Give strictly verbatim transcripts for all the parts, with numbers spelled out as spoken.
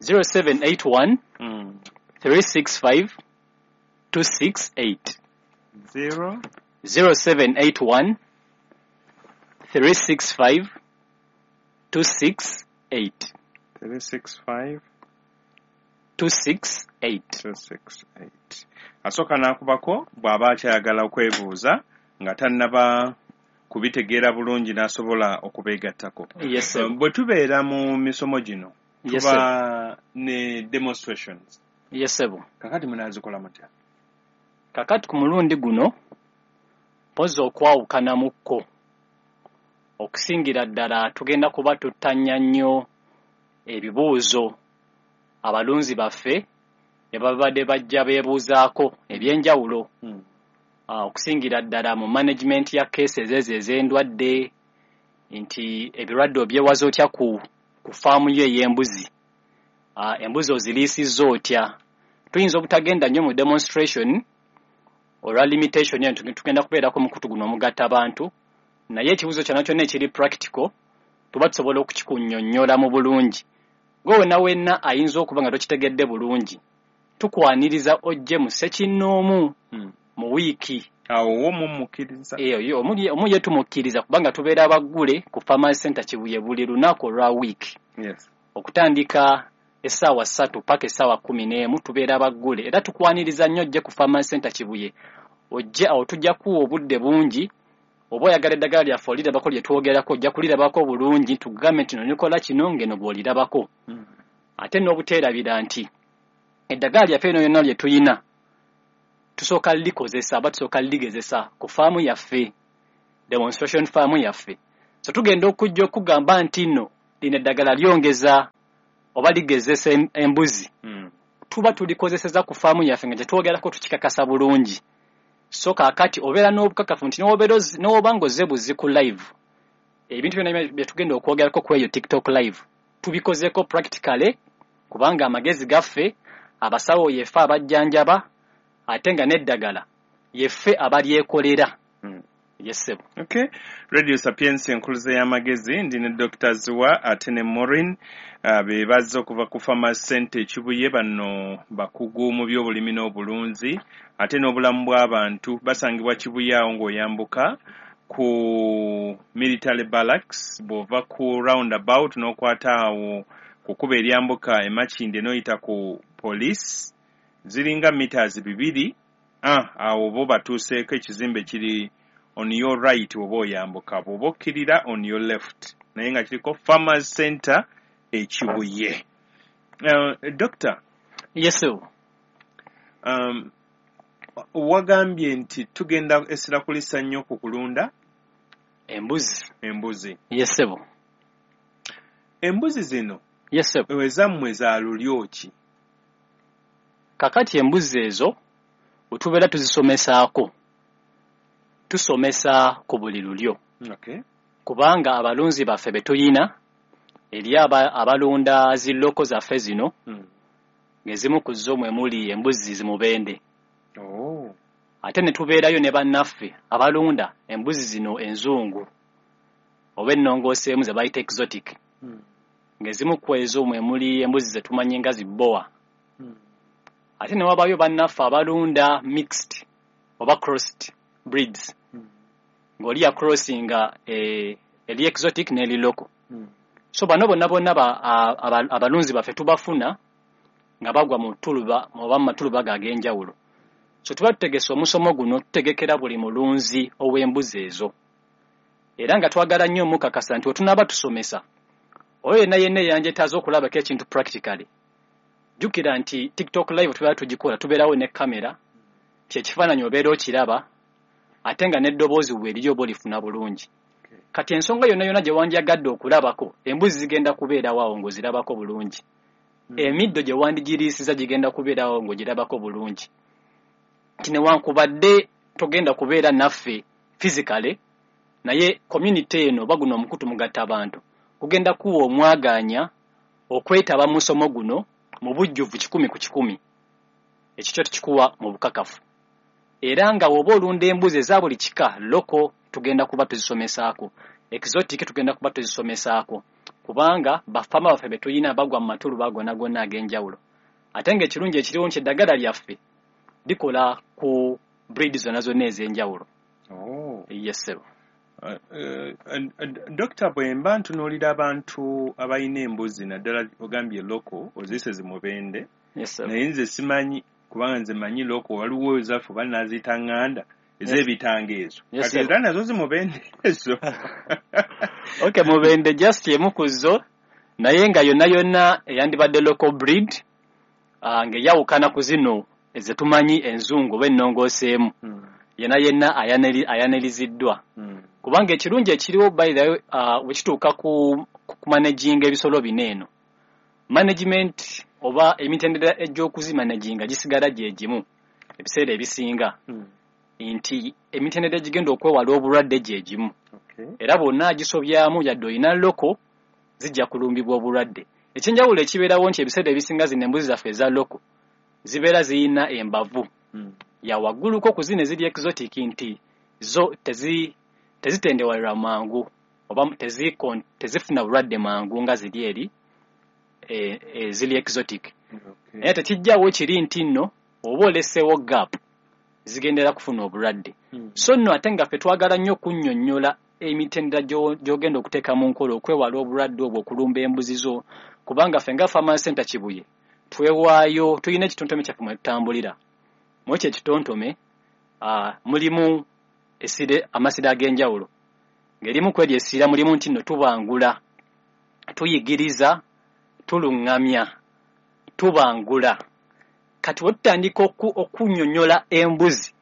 zero seven eight one Mm. three six five two six eight. Zero zero seven eight one three six five two six eight. three six five two six eight. two six eight. Asooka n'akubako bw'aba akyayagala okwebuuza nga tannaba kubitegeera bulungi n'asobola okubeegattako. Yes, sir. Bwe tubeera mu misomo gino Yes, tuba sir. ne demonstrations. Yes, sir. Kakati munaazikola mutya? Kakati ku mulundi guno mpozi okwawukanamukko okusingira ddala tugenda kuba tuttanya nnyo ebibuuzo abalunzi baffe ne babadde bajja beebuuzaako ebyenjawulo. Hmm. Ah, okusingira ddala mu management ya cases ezo ez'endwadde, nti ebirwadde obyewaza otya ku, ku faamu yo ey'embuzi, ah, embuzi oziriisizza otya. Tuyinza obutagenda nnyo mu demonstration olwa limitation eno, tugenda kubeerako mukutu guno omugatta abantu, naye ekibuuzo kyonna kyonna ekiri practical tuba tusobola okukikunnyonnyola mu bulungi. Gwe wenna wenna ayinza okuba nga tokitegedde bulungi, tukwaniriza ojje mu ssekinnoomu Hmm. mu wiiki. Awo wo mumukkiriza? Eyo, yo, omu ye, omu ye tumukkiriza kubanga tubeera baggule ku Farmers Center Kibuye buli lunaku olwa wiiki. Yes. Okutandika essaawa ssatu paka essaawa kkumi n'emu tubeera baggule, era tukwaniriza nnyo ojje ku Farmers Center Kibuye. Ojje awo tujja kuwa obudde bungi, oba oyagala eddagala lyaffe olirabako lye twogerako, ojja kulirabako bulungi, tugambe nti nonikola kino ng'eno bw'olirabako. Mm. Ate n'obuteerabira nti eddagala lyaffe lino lyonna lye tuyina tusooka likozesa oba tusooka ligezesa ku faamu yaffe, demonstration faamu yaffe. So tugenda okujja okugamba nti nno lino eddagala lyongeza oba ligezesa em-, embuzi. Mm. Tuba tulikozeseza ku faamu yaffe nga tetwogerako tukikakasa bulungi. So kaakati obeera n'obukakafu nti n'obeera ozi-, n'oba ng'ozze buzzi ku live, ebintu byonna bye tugenda okwogerako ku eyo TikTok live tubikozeeko practically, kubanga amagezi gaffe, abasawo yeffe abajjanjaba, ate nga n'eddagala yeffe abalyekolera. Mm. Yes, sir. Okay. Radio Sapientia enkuluze y'amagezi, ndi ne Doctor Ziwa ate ne Maureen, uh, be bazze okuva ku Farmers Center e Kibuye. Bano bakugu mu by'obulimi n'obulunzi ate n'obulamu bw'abantu. Basangibwa Kibuye awo ng'oyambuka ku military barracks, bw'ova ku roundabout n'okwata awo ku kkubo eryambuka e Makindye n'oyita ku police, ziringa meters bibiri. Ah, awo bo batuuseeko, ekizimbe kiri on your right bw'oba oyambuka, bw'oba okkirira on your left, naye nga kiriko Farmers Center e Kibuye. Uh, Doctor. Yes, sir. Um, wagambye nti tugenda essira kulissa nnyo ku kulunda embuzi. Embuzi. Yes, sir. Embuzi zino Yes, sir. ezammwe za lulyo ki? Kakati embuzi ezo bwe tubeera tuzisomesaako, tusomesa ku buli lulyo. Okay. Kubanga abalunzi baffe be tuyina, eri aba-, abalunda zi local zaffe zino, Hmm. ng'ezimu ku zo mwe muli embuzi zimubende. Oh. Ate ne tubeerayo ne bannaffe abalunda embuzi zino enzungu oba ennongooseemu ze bayita exotic. Hmm. Ng'ezimu ku ezo mwe muli embuzi ze tumanyi nga zi boa. Hmm. Ate ne wabaayo bannaffe abalunda mixed oba crossed breeds. Hmm. Ng'oli ya crossinga, eh, eri exotic n'eri local. Hmm. So bano bonna bonna ba-, a-, aba-, abalunzi baffe tubafuna nga bagwa mu ttuluba oba mu matuluba ag'enjawulo. So tuba tutegese omusomo guno, tutegekera buli mulunzi ow'embuzi ezo. Era nga twagala nnyo omukakasa nti wetunaaba tusomesa, oyo yenna yenna eyanjetaaza okulabako ekintu practically, jjukira nti TikTok live tubeera tugikola, tubeerawo ne kamera, nti ekifaananyi obeera okiraba, ate nga n'eddoboozi bwe liri oba olifuna bulungi. Kati ensonga yonna yonna gye wandyagadde okulabako, embuzi zigenda kubeerawo awo ng'ozirabako bulungi. Hmm. Emiddo gye wandigiriisiza gigenda kubeerawo ng'ogirabako bulungi. Nti newankubadde togenda kubeera naffe physically, naye community eno oba guno omukutu mugatta abantu, gugenda kuwa omwagaanya okwetaba mu musomo guno mu bujjuvu kikumi ku kikumi. Ekyo kyo tukikuwa mu bukakafu. Era nga bw'oba olunda embuzi eza buli kika, local tugenda kuba tuzisomesaako, exotic tugenda kuba tuzisomesaako, Kubanga bafama baffe be tuyina bagwa mu matuluba gonna gonna ag'enjawulo. Ate ng'ekirungi ekiriwo nti eddagala lyaffe likola ku breed zonna zonna ez'enjawulo. Oh. Yes, ssebo. Uh, uh, Dokita, bwe mba ntunuulira abantu abalina embuzi, naddala ogambye local, oziyise zimubende. Yes, sir. Naye nze simanyi, kubanga nze manyi local, waliwo ezaffe oba naaziyita ŋŋanda ez'ebitanga ezo. Yes, kati sir. Era nazo zimubende ezo? Okay, mubende just emu ku zo, naye nga yonna yonna eyandibadde local breed, uh, ng'eyawukana ku zino ezetumanyi enzungu oba ennongooseemu. Mm. Yenna yenna ayaneri- ayaniriziddwa. Mm. Kubanga ekirungi ekiriwo, by the way, uh, bwe kituuka ku kumanaginga ebisolo bino eno, management oba emitendera egy'okuzimanaginga gisigala gye gimu ebiseera ebisinga, Mm. nti emitendera egigenda okwewala obulwadde gye gimu. Okay. Era bwonna agisobyamu, yadde olina local, zijja kulumbibwa obulwadde. Ekyenjawulo ekibeerawo nti ebiseera ebisinga zino embuzi zaffe eza local zibeera ziyina embavu Mm. ya wagguluko ku zino eziri exotic, nti zo tezi tezitendewalirwa mangu oba tezikon- tezifuna bulwadde mangu nga ziri eri e, eziri exotic. Okay. Naye tekijjawo kiri nti nno oba oleseewo gap, zigendera kufuna obulwadde. Mm. So nno ate nga ffe twagala nnyo okunnyonnyola emitendera gy'o- gy'ogenda okuteeka mu nkola okwewala obulwadde obwo okulumba embuzi zo, kubanga ffe nga Farmers Center Kibuye twewaayo, tulina ekitontome kyaffe mwe tutambulira. Mu ekyo ekitontome uh, mulimu essire, amasiro ag'enjawulo, ng'erimu ku eryo essira mulimu nti nno tubangula, tuyigiriza, tuluŋŋamya, tubangula. Kati we tutandika oku- okunnyonnyola embuzi,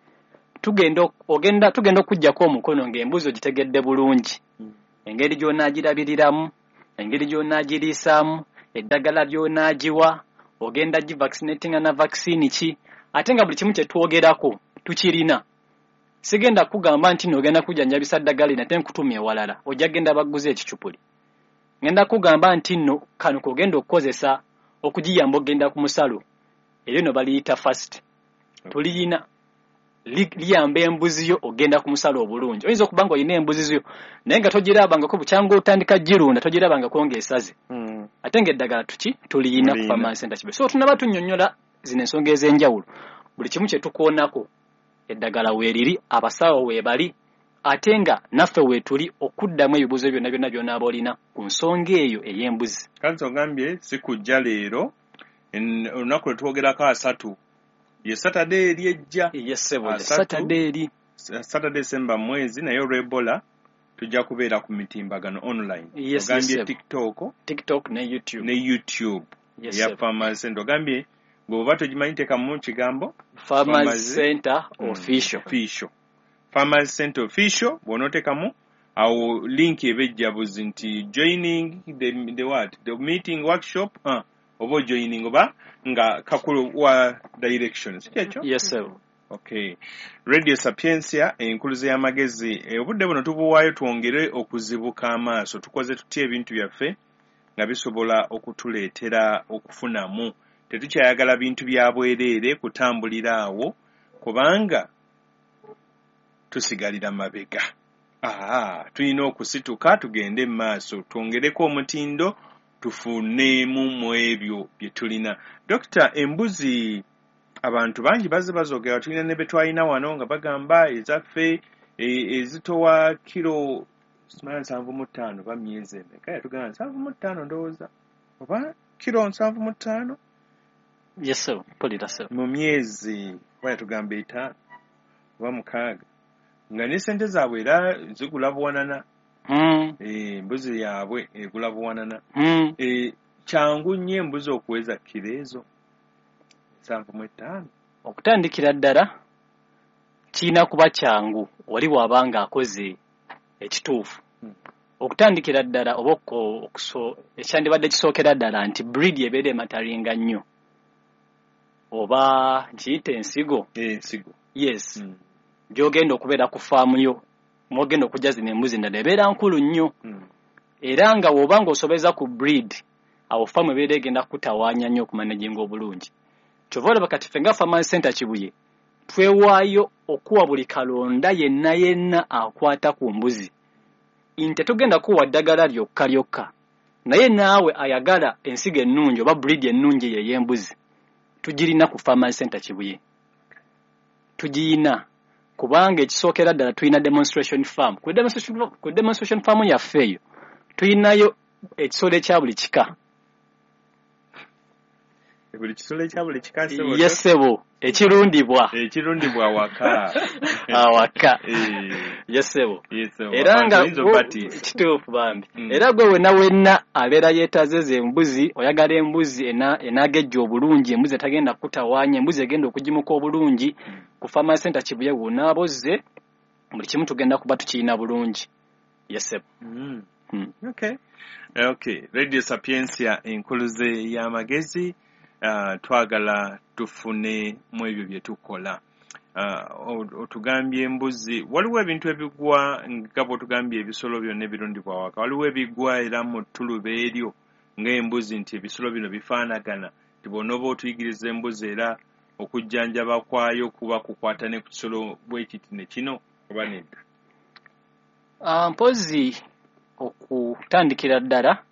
tugenda ok- ogenda tugenda okuggyako omukono ng'embuzi ogitegedde bulungi, Mm. engeri gy'onaagirabiriramu, engeri gy'onaagiriisaamu, eddagala ly'onaagiwa, ogenda givaccinatinga na vaccine ki, ate nga buli kimu kye twogerako tukirina. Sigenda kugamba nti nno ogenda kujjanjabisa ddagala lino ate nkutumya ewalala, ojja genda baguze ekicupuli. Ngenda kugamba nti nno kano k'ogenda okukozesa okugiyamba okugenda ku musalo, eryo nno baliyita first tuliyina, Li- liyamba embuzi yo ogenda ku musalo obulungi. Oyinza okuba nga olina embuzi zo naye nga togirabangako, bukyanga otandika girunda togirabangako ng'esaze, Mm. ate ng'eddagala tuki tuliyina ku Tuliyina. Farmers Center Kibuye. So tunaba tunnyonnyola zino ensonga ez'enjawulo, buli kimu kye tukoonako eddagala weeriri, abasawo weebali, ate nga naffe weetuli okuddamu ebibuuzo byonna byonna by'onaaba olina ku nsonga eyo ey'embuzi. Kanti ogambye si kujja leero, en- olunaku lwe twogerako asatu ye Saturday eri ejja. Yes, ssebo. Asatu. Saturday eri. Saturday semba mwezi, naye olw'Ebola tujja kubeera ku mitimbagano online. Yes, ogambye yes, ssebo. TikTok TikTok ne YouTube. Ne YouTube. Yes, eya ssebo. Farmers Center. Ogambye bw'oba togimanyi teekamu kigambo Farmers Farmers Center Mm. Official. Official, Farmers Center Official. Bw'onooteekamu awo link eba ejja buzi nti joining the, the what, the meeting, workshop, uh, oba ojoining oba nga kakulu wa direction, si kyekyo? Yes, ssebo. Okay, Radio Sapientia, enkuluze y'amagezi. Eh, obudde buno tubuwaayo twongere okuzibuka amaaso, tukoze tutya ebintu byaffe nga bisobola okutuleetera okufunamu. Tetukyayagala bintu bya bwereere kutambulira awo, kubanga tusigalira mabega. Aa, tulina okusituka tugende mu maaso, twongereko omutindo, tufuneemu mu ebyo bye tulina. Dokita, embuzi abantu bangi bazze bazoogera, tulina ne be twalina wano nga bagamba ezaffe e- ezitowa kiro simanya nsanvu mu ttaano oba myezi emeka, yatugamba nsanvu mu ttaano ndowooza, oba kiro nsanvu mu ttaano. Yes, ssebo, mpulira, ssebo. Mu myezi oba yatugamba etaano oba mukaaga, nga ne sente zaabwe era zigula buwanana. Mm, Eh, embuzi yaabwe egula buwanana. mm. Eh, kyangu nnyo embuzi okuweza kiro ezo nsanvu mu ttaano? Okutandikira ddala kirina kuba kyangu oli bw'aba ng'akoze ekituufu. Hmm. Okutandikira ddala oba oko- okuso- ekyandibadde kisookera ddala nti breed ebeera emataringa nnyo, oba nkiyite ensigo. Ensigo. Yes. Mm. Gy'ogenda okubeera ku faamu yo mwogenda okujja zino embuzi endala ebeera nkulu nnyo. Mm. Era nga bw'oba ng'osobeza ku breed, awo faamu ebeera egenda kutawaanya nnyo okumanaginga obulungi. Kyova olaba kati ffe nga Farmers Center Kibuye twewaayo okuwa buli kalonda yenna yenna akwata ku mbuzi, nti tetugenda kuwa ddagala lyokka lyokka. Naye naawe ayagala ensigo ennungi oba breed ennungi eyo ey'embuzi, tugirina ku Farmers Center Kibuye. Tugiyina kubanga ekisookera ddala tulina demonstration farm. Ku demonstration, ku demonstration farm yaffe eyo tulinayo ekisolo ekya buli kika. Buli kisolo ekya buli kika, ssebo? Yes ssebo, ekirundibwa. Ekirundibwa awaka. Awaka. Eh. Yes ssebo. Yes, ssebo. Era nga Oyinza obatiisa. Kituufu bambi. Mm. Era gwe wenna wenna abeera yeetaaze ezo embuzi, oyagala embuzi ena enagejja obulungi, embuzi etagenda kutawaanya, embuzi egenda okugimuka obulungi, ku Farmers Center Kibuye w'onaaba ozze, buli kimu tugenda kuba tukirina bulungi. Yes ssebo. Mm. Mm. Okay. Okay. Radio Sapientia enkuluze y'amagezi, uh, twagala tufune mu ebyo bye tukola. Uh, otugambye embuzi, waliwo ebintu ebigwa nga bw'otugambye ebisolo byonna ebirundibwa awaka, waliwo ebigwa era mu ttuluba eryo ng'embuzi nti ebisolo bino bifaanagana, nti bw'onooba otuyigiriza embuzi era okujjanjaba kwayo kuba kukwata ne ku kisolo bwe kiti ne kino oba nedda? Uh, mpozi okutandikira ddala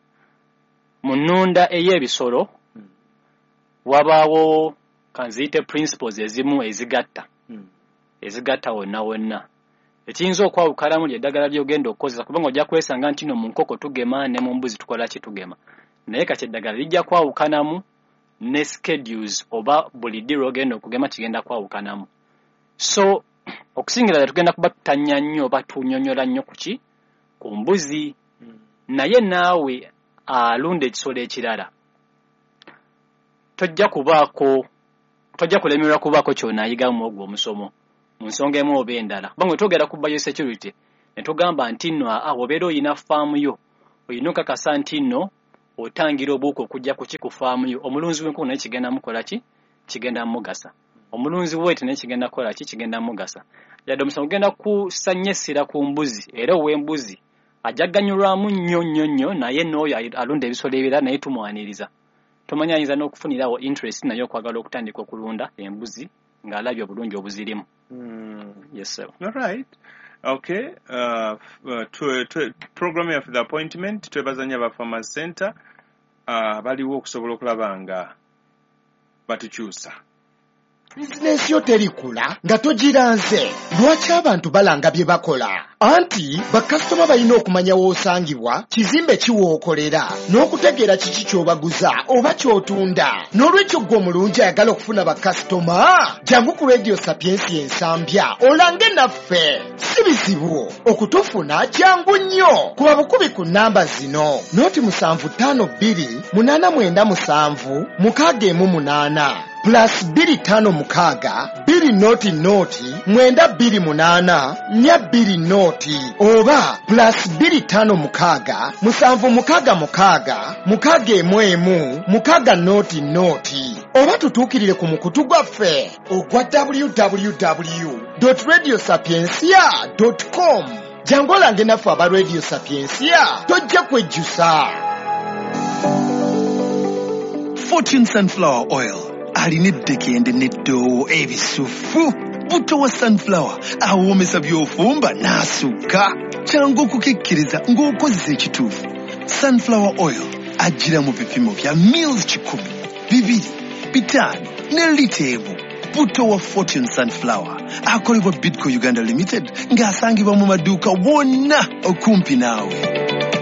mu nnunda ey'ebisolo Mm. wabaawo kanziyite principles ezimu ezigatta Mm. ezigatta wonna wonna. Ekiyinza okwawukanamu ly'eddagala ly'ogenda okukozesa, kubanga ojja kwesanga nti no mu nkoko tugema ne mu mbuzi tukola ki, tugema, naye kati eddagala lijja kwawukanamu ne schedules oba buli ddi lw'ogenda okugema kigenda kwawukanamu. So okusingira ddala tugenda kuba tutanya nnyo oba tunyonnyola nnyo ku ki, ku mbuzi. Mm. Naye naawe alunda ekisolo ekirala tojja kubaako, tojja kulemererwa kubaako ky'onaayigamu ogwo omusomo mu nsonga emu oba endala, kubanga bwe twogera ku biosecurity ne tugamba nti nno aa bw'obeera oyina faamu yo, olina okakasa nti nno otangira obuwuka okujja ku ki, ku faamu yo. Omulunzi w'enkoko naye kigenda mukola ki, kigenda mugasa. Omulunzi w'ente naye kigenda kukola ki, kigenda mugasa. Yadde omusomo gugenda kussa nnyo essira ku mbuzi, era ow'embuzi ajja kuganyulwamu nnyo nnyo nnyo, naye n'oyo alunda ebisolo ebirala naye tumwaniriza. Tomanyi ayinza n'okufunirawo interest naye okwagala okutandika okulunda embuzi ng'alabye obulungi obuzirimu. Mm. Yes sir. All right. Okay. Uh, uh, twe, twe, program yaffe The Appointment, twebaza nnyo aba Farmers Center uh, baliwo okusobola okulaba nga batukyusa. Bizinensi yo terikula nga togiranze. Lwaki abantu balanga bye bakola? Anti bakasitoma balina okumanya w'osangibwa, kizimbe ki w'okolera, n'okutegeera kiki ky'obaguza oba ky'otunda. N'olwekyo ggwe omulungi ayagala okufuna bakasitoma, jangu ku Radio Sapientia Ensambya olange naffe. Si bizibu okutufuna, kyangu nnyo. Kuba bukubi ku nnamba zino: noti musanvu ttaano bbiri munaana mwenda musanvu mukaaga emu munaana, plus bbiri ttaano mukaaga bbiri noti noti mwenda bbiri munaana nnya bbiri noti, oba plus bbiri ttaano mukaaga musanvu mukaaga mukaaga mukaaga emu emu mukaaga noti noti, oba tutuukirire ku mukutu gwaffe ogwa w w w radio sapiencia com. Jangu olange naffe aba Radio Sapiencia, tojja kwejjusa. Fortune Sunflower Oil alina eddekende n'eddoowo ebisufu. Buto wa sunflower awoomesa by'ofumba n'asukka. Kyangu okukikkiriza ng'okozesa ekituufu. Sunflower oil ajjira mu bipimo bya mils kikumi, bibiri, bitaano ne lita emu. Buto wa Fortune Sunflower akolebwa Bidco Uganda Limited ng'asangibwa mu maduuka wonna okumpi naawe.